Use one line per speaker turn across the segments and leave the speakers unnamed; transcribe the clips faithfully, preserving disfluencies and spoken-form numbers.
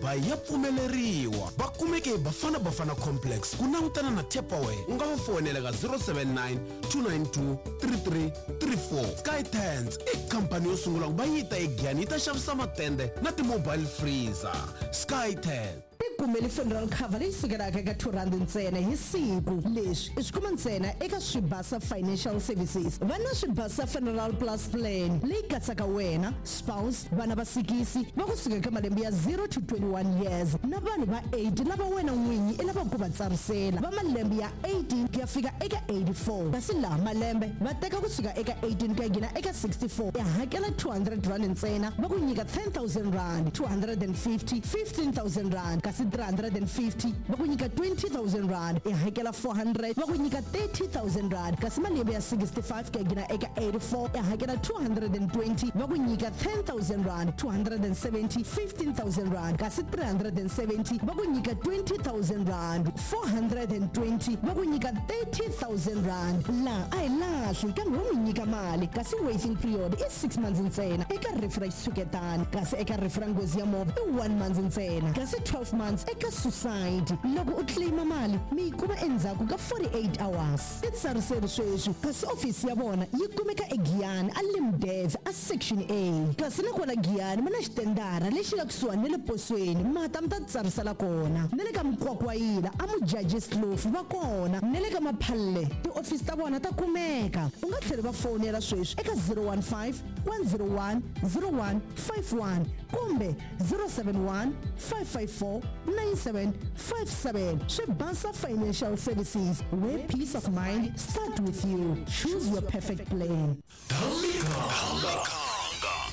Dubai ya pfumeleriwa. Va kumeke hi Bafana Bafana Complex ku langutana na Tupperware. U nga va fonela ka zero seven nine, two nine two, three three three four. Sky Tents i khampani yo sungula ku va yi ta eGiyani yi ta xavisa matende na ti-mobile freezer. Sky Tents.
Tikumeli funeral cover leyi sukelaka eka two rand ntsena hi siku. Leswi i swi kuma ntsena eka Swibasa Financial Services. Va na Swibasa Funeral Plus Plan leyi katsaka wena, spouse, vana va sikisi va kusuka eka malembe ya zero to twenty-one years na vanhu va eight lava wena n'winyi i lavaka ku va tsarisela va malembe ya eighteen ku ya fika eka eighty-four. Kasi laha malembe va teka kusuka eka eighteen ku ya nghena eka sixty-four. I hakela two hundred rand ntsena va ku nyika ten thousand rand, two hundred and fifty, fifteen thousand rand, kasi three hundred and fifty va ku nyika twenty thousand rand. I hakela four hundred va ku nyika thirty thousand rand, kasi malembe ya sixty-five ku ya nghena eka eighty-four i hakela two hundred and twenty va ku nyika ten thousand rand, two hundred and seventy, fifteen thousand rand, kasi three hundred and seventy va ku nyika twenty thousand rand, four hundred and twenty va ku nyika thirty thousand rand. Laha a hi lahli kambe vo mi nyika mali, kasi waiting period i six months ntsena eka rifu ra xitshuketani, kasi eka rifu ra nghozi ya movha i one month ntsena, kasi twelve months eka suicide. Loko u claima mali mi yi kuma endzhaku ka forty-eight hours. I tsariseri sweswi, kasi ofisi ya vona yi kumeka eGiyani a Limdev a Section A, kasi na kwala Giyani ma na xitendara lexi nga kusuhani na le posweni, mata mi ta tsarisela kona. Na le ka Mkwakwayila a Mujajis Kloof va kona, na le ka Maphalle tiofisi ta vona ta kumeka. U nga tlhela va fonela sweswi eka zero one five, one zero one, zero one five one kumbe zero seven one, five five four, nine seven five seven. Swibasa Financial Services, where peace of mind start with you. Choose your perfect plan.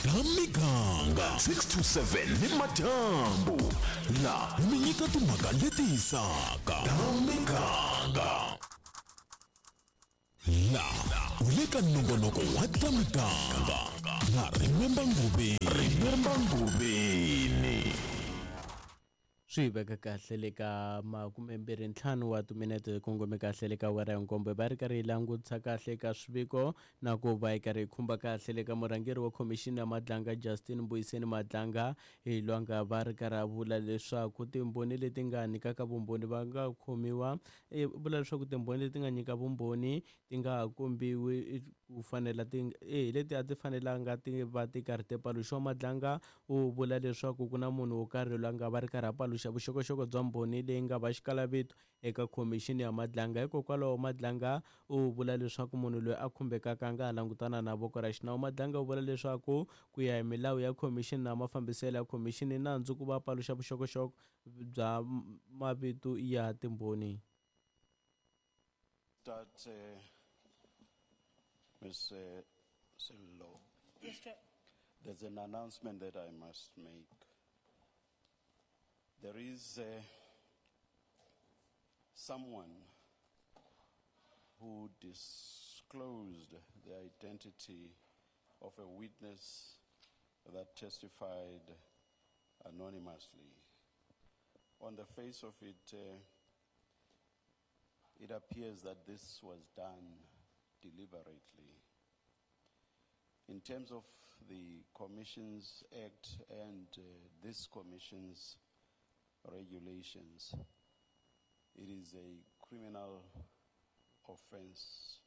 Miganga six to seven ni madyambu la mi nyika timhaka leti hisaka. Miganga la u le ka nongonoko wa ta miganga na Remember Ngubeni. Remember Ngubeni.
Swi veka kahle le ka makume mbirhi ntlhanu wa timinete kongome kahle le ka awara ya nkombo, va ri karhi yi langutisa kahle ka swiviko na ku va yi karhi yi khumba kahle le ka murhangeri wa khomixini ya Madlanga Justin Mbuyiseni Madlanga hi lwanga va ri karhi a vula leswaku timbhoni leti nga nyikaka vumbhoni va nga khomiwa, e, vula leswaku timbhoni leti nga nyika vumbhoni ti nga ha kombiwi ku fanela ti, e, leti a ti fanelanga ti va ti karhi ti paluxiwa. Madlanga u vula leswaku ku na munhu wo karhi loyi a nga va ri karhi a paluxa vuxokoxoko bya mbhoni leyi nga va xikalavito eka khomixini ya Madlanga. Hikokwalaho Madlanga u vula leswaku munhu loyi a khumbekaka a nga ha langutana na voko ra xinawu. Madlanga u vula leswaku ku ya hi milawu ya khomixini na mafambiselo ya khomixini nandzu ku va paluxa vuxokoxoko bya mavito ya timbhoni.
Start, uh, Miz Sello.
Yes, Chair.
There's an announcement that I must make. There is, uh, someone who disclosed the identity of a witness that testified anonymously. On the face of it, uh, it appears that this was done deliberately. In terms of the Commission's Act and, uh, this Commission's regulations, it is a criminal offense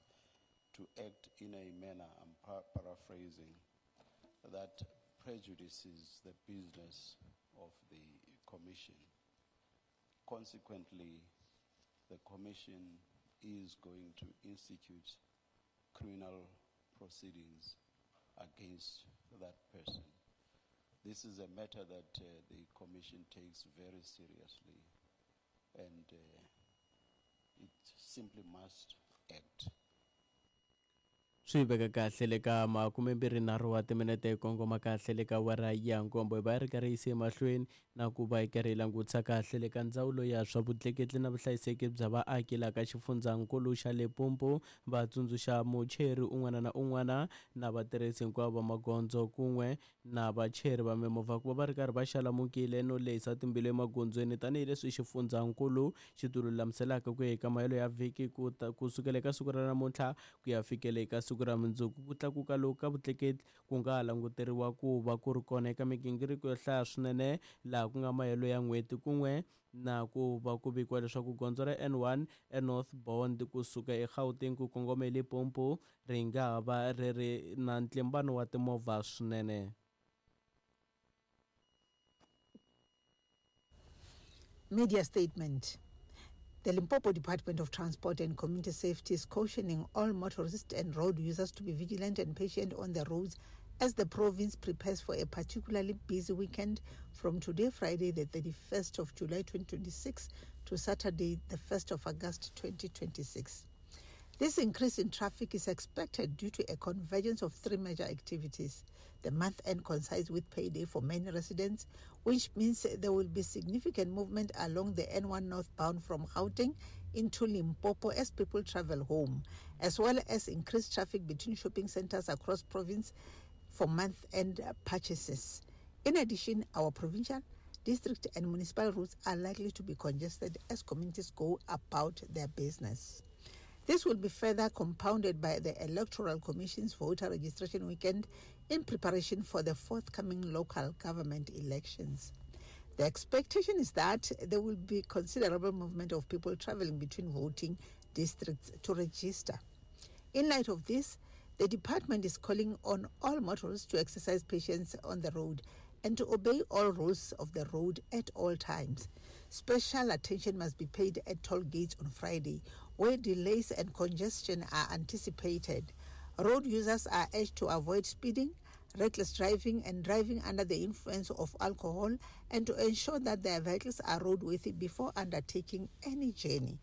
to act in a manner, I'm par- paraphrasing, that prejudices the business of the Commission. Consequently, the Commission is going to institute criminal proceedings against that person. This is a matter that, uh, the Commission takes very seriously, and, uh, it simply must act.
Swi veka kahle le ka makume mbirhi nharhu wa timinete hi kongoma kahle le ka awara ya nkombo, hi va yi ri karhi yi yise emahlweni na ku va yi karhi yi langutisa kahle le ka ndzawulo ya swa vutleketli na vuhlayiseki bya vaaki laha ka xifundzankulu xa Limpopo. Va tsundzuxa mucheri un'wana na un'wana na vatirhisi hinkwavo va magondzo kun'we na vacheri va mimovha ku va va ri karhi va xalamukile no lehisa timbilu emagondzweni, tanihileswi xifundzankulu xi ti lulamiselaka ku ya eka mahelo ya vhiki ku ta, ku sukela eka siku ra namuntlha ku ya fikela eka siku siku ra mundzuku. Ku tlakuka loku ka vutleketli ku nga ha languteriwa ku va ku ri kona eka migingiriko yo hlaya swinene laha ku nga mahelo ya n'hweti kun'we na ku va ku vikiwa leswaku gondzo ra N one enorthbound kusuka eGauteng ku kongoma eLimpopo ri nga ha va ri ri na ntlimbano wa timovha swinene.
Media statement. The Limpopo Department of Transport and Community Safety is cautioning all motorists and road users to be vigilant and patient on the roads as the province prepares for a particularly busy weekend from today, Friday, the thirty-first of July twenty twenty-six, to Saturday, the first of August twenty twenty-six. This increase in traffic is expected due to a convergence of three major activities. The month end coincides with payday for many residents, which means there will be significant movement along the N one northbound from Gauteng into Limpopo as people travel home, as well as increased traffic between shopping centers across province for month-end purchases. In addition, our provincial, district and municipal routes are likely to be congested as communities go about their business. This will be further compounded by the Electoral Commission's voter registration weekend in preparation for the forthcoming local government elections. The expectation is that there will be considerable movement of people traveling between voting districts to register. In light of this, the department is calling on all motorists to exercise patience on the road and to obey all rules of the road at all times. Special attention must be paid at toll gates on Friday, where delays and congestion are anticipated. Road users are urged to avoid speeding, reckless driving, and driving under the influence of alcohol, and to ensure that their vehicles are roadworthy before undertaking any journey.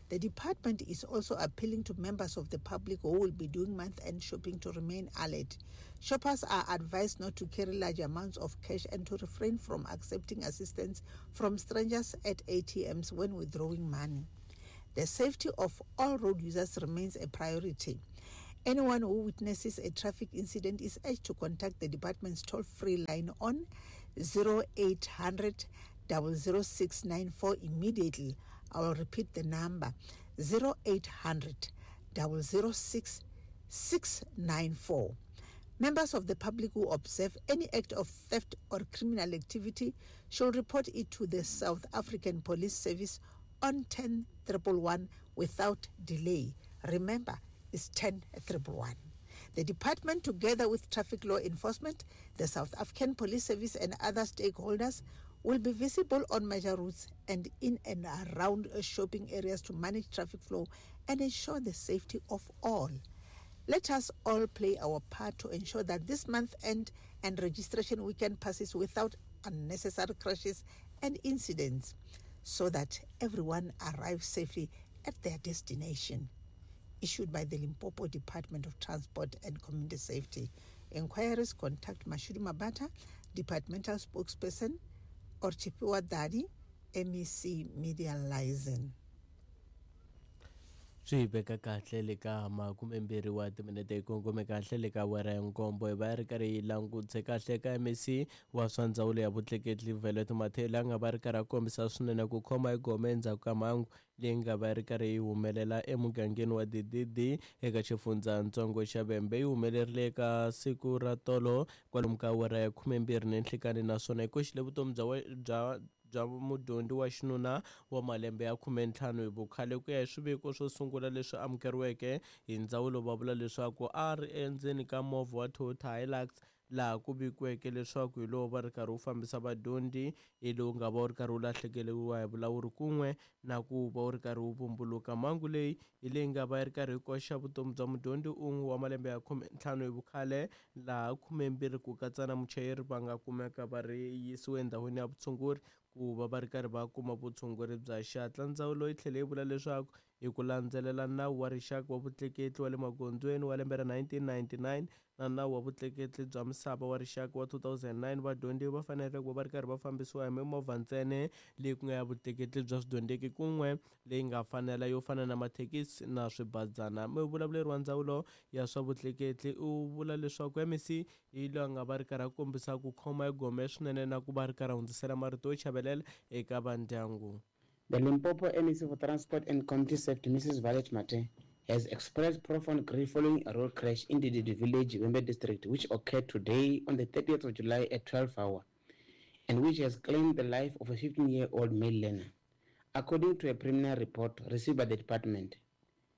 The department is also appealing to members of the public who will be doing month-end shopping to remain alert. Shoppers are advised not to carry large amounts of cash and to refrain from accepting assistance from strangers at A T Ms when withdrawing money. The safety of all road users remains a priority. Anyone who witnesses a traffic incident is urged to contact the department's toll-free line on zero eight hundred, double zero six nine four immediately. I will repeat the number, zero eight hundred, double zero six, six nine four. Members of the public who observe any act of theft or criminal activity should report it to the South African Police Service on ten triple one without delay. Remember, it's ten triple one. The department, together with traffic law enforcement, the South African Police Service and other stakeholders, will be visible on major routes and in and around shopping areas to manage traffic flow and ensure the safety of all. Let us all play our part to ensure that this month end and registration weekend passes without unnecessary crashes and incidents, so that everyone arrives safely at their destination. Issued by the Limpopo Department of Transport and Community Safety. Inquiries, contact Mashudu Mabata, departmental spokesperson, or Chipiwa Dadi, M E C Media Liaison.
Swi veka kahle le ka makumembirhi wa timinete yi kongome kahle le ka awara ya nkombo hi va ri karhi yi langutse kahle ka M E C wa swa ndzawulo ya vutleketli Violet Mathele a nga va ri karhi a kombisa swinene ku khoma hi gome endzhaku ka mhangu leyi nga va ri karhi yi humelela emugangeni wa D D D eka xifundzatsongo xa Vhembe. Yi humelerile eka siku ra tolo kwalomu ka awara ya khumembirhi ni nhlikani naswona yi koxile vutomi bya bya bya mudyondzi wa xinuna wa malembe ya khumentlhanu hi vukhale. Ku ya hi swiviko swo sungula leswi amukeriweke hi ndzawulo, va vula leswaku a ri endzeni ka movha wa Toyota Hilux laha ku vikiweke leswaku hi lowu va ri karhi wu fambisa vadyondzi, hi lowu nga va wu ri karhi wu lahlekeriwa hi vulawuri kun'we na ku va wu ri karhi wu vumbuluka. Mhangu leyi hi leyi nga va yi ri karhi yi koxa vutomi bya mudyondzi un'we wa malembe ya khumentlhanu hi vukhale, laha khumembirhi ku katsa na muchayeri va nga kumeka va ri yisiwe endhawini ya vutshunguri ku va va ri karhi va kuma vutshunguri bya xihatla. Ndzawulo yi tlhele yi vula leswaku hi ku landzelela nawu wa rixaka wa vutleketli wa le magondzweni wa lembe ra nineteen ninety-nine na nawu wa vutleketli bya misava wa rixaka wa two thousand nine, vadyondzi va fanele ku va va ri karhi va fambisiwa hi mimovha ntsena leyi ku nga ya vutleketli bya swidyondzeki kun'we leyi nga fanela yo fana na mathekisi na swibazana. Muvulavuleri wa ndzawulo ya swa vutleketli u vula leswaku M E C hi loyi a nga va ri karhi a kombisa ku khoma hi gome swinene na ku va ri karhi a hundzisela marito yo chavelela eka vandyangu.
The Limpopo M E C for Transport and Community Safety, Missus Violet Mate, has expressed profound grief following a road crash in the Didi village, Vhembe district, which occurred today on the thirtieth of July at twelve hours, and which has claimed the life of a fifteen-year-old male learner. According to a preliminary report received by the department,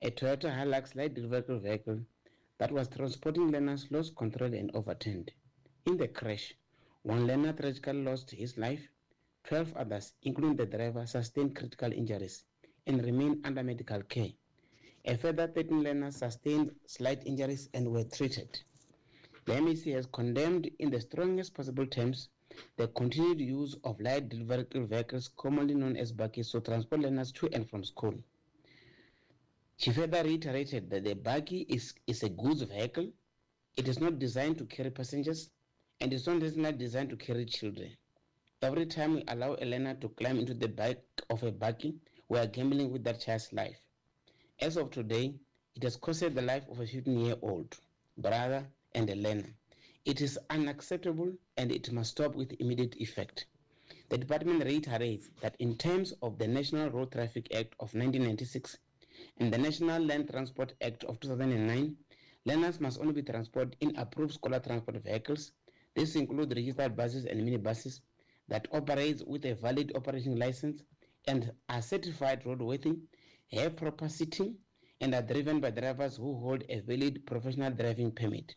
a Toyota Hilux light vehicle vehicle that was transporting learners lost control and overturned. In the crash, one learner tragically lost his life, twelve others, including the driver, sustained critical injuries and remain under medical care. A further thirteen learners sustained slight injuries and were treated. The M E C has condemned in the strongest possible terms the continued use of light delivery vehicles, commonly known as bakkies, to transport learners to and from school. She further reiterated that the bakkie is, is a goods vehicle. It is not designed to carry passengers and is not designed to carry children. Every time we allow a learner to climb into the back of a bakkie, we are gambling with that child's life. As of today, it has costed the life of a fifteen-year-old brother and a learner. It is unacceptable and it must stop with immediate effect. The department reiterates that in terms of the National Road Traffic Act of nineteen ninety-six and the National Land Transport Act of two thousand nine, learners must only be transported in approved scholar transport vehicles. This includes registered buses and minibuses that operate with a valid operating license and are certified roadworthy, have proper seating, and are driven by drivers who hold a valid professional driving permit.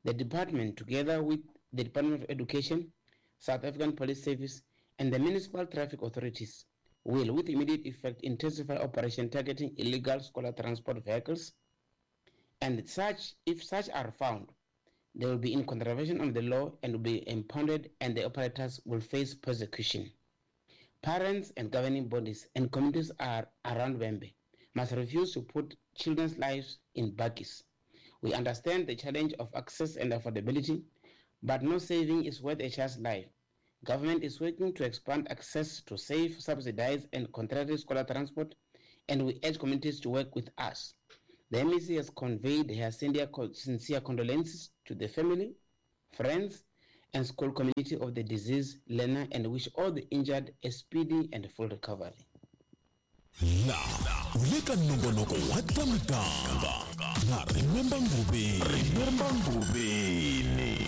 The department, together with the Department of Education, South African Police Service, and the municipal traffic authorities, will, with immediate effect, intensify operation targeting illegal scholar transport vehicles, and such, if such are found, they will be in contravention of the law and will be impounded, and the operators will face prosecution. Parents and governing bodies and communities are around Vhembe must refuse to put children's lives in bakkies. We understand the challenge of access and affordability, but no saving is worth a child's life. Government is working to expand access to safe, subsidized, and contracted scholar transport, and we urge communities to work with us. The M E C has conveyed her sincere condolences to the family, friends, and school community of the deceased learner and wish all the injured a speedy and full recovery.
La u le ka nongonoko wa ta miganga na Remember Ngobeni. Remember Ngobeni.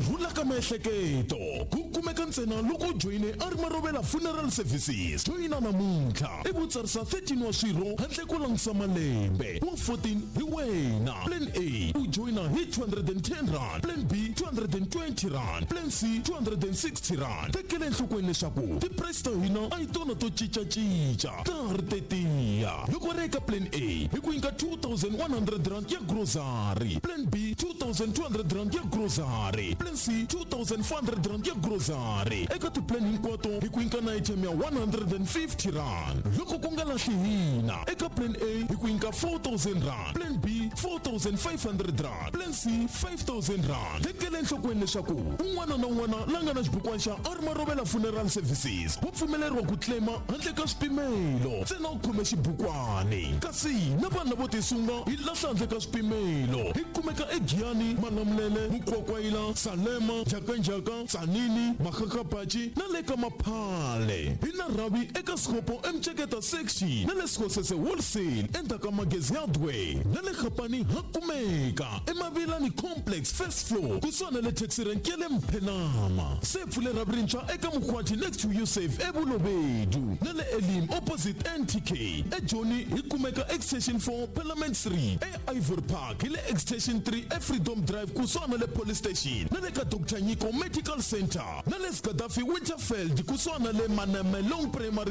Rhula ka miehleketo ku kumeka ntsena loko u joyine a ri Marovela Funeral Services. Joyina namuntlha i vutsarisa thirteen wa swirho handle ko langutisa malembe wa fourteen hi wena. Plan A u joyina hi two hundred and ten rand, Plan B two hundred and twenty rand, Plan C two hundred and sixty rand. Tekela enhlokweni leswaku ti-price ta hina a hi tona to cincacinca, ta ha ri tetiya. Loko ri eka Plan A hi ku nyika two thousand one hundred rand ya grocery, Plan B two thousand two hundred rand ya grocery, Plan C two thousand four hundred rand ya grocery. Eka ti-plan hinkwato hi ku nyika na item ya one hundred and fifty rand. Loko ku nga lahli hina, eka Plan A hi ku nyika four thousand rand, Plan B four thousand five hundred rand, Plan C five thousand rand. Tekela enhlokweni leswaku un'wana na un'wana la nga na xibukwana xa a ri Marovela Funeral Services wa pfumeleriwa ku claima handle ka swipimelo, ntsena u khome xibukwani. Kasi na vanhu lavo tisunga hi lahla handle ka swipimelo. Hi kumeka eGiyani, Malamulele, Mukwakwayila, Salema, Njhakanjhaka, Tzaneen, Makgakgapatši na le ka Maphale. Hi na rhavi eka Sekgopo eMtsheketa section na le Sekgosese Wholesale endzhaku ka Magezi Hardware na le Gapani ha kumeka eMavilani Complex first floor kusuhani na le taxi rank ya le Mphenama. Se pfule rhavi rintshwa eka Mkhwati next to Yusuf eBulobedu na le Elim opposite N T K. eJoni hi kumeka Extension four Parliament Street, e Ivory Park hi le Extension three eFreedom Drive kusuhani na le Police Station na le ka Doctor Nyiko Medical Center na le Gaddafi Winterfeld kusuhani na le Manamelong Primary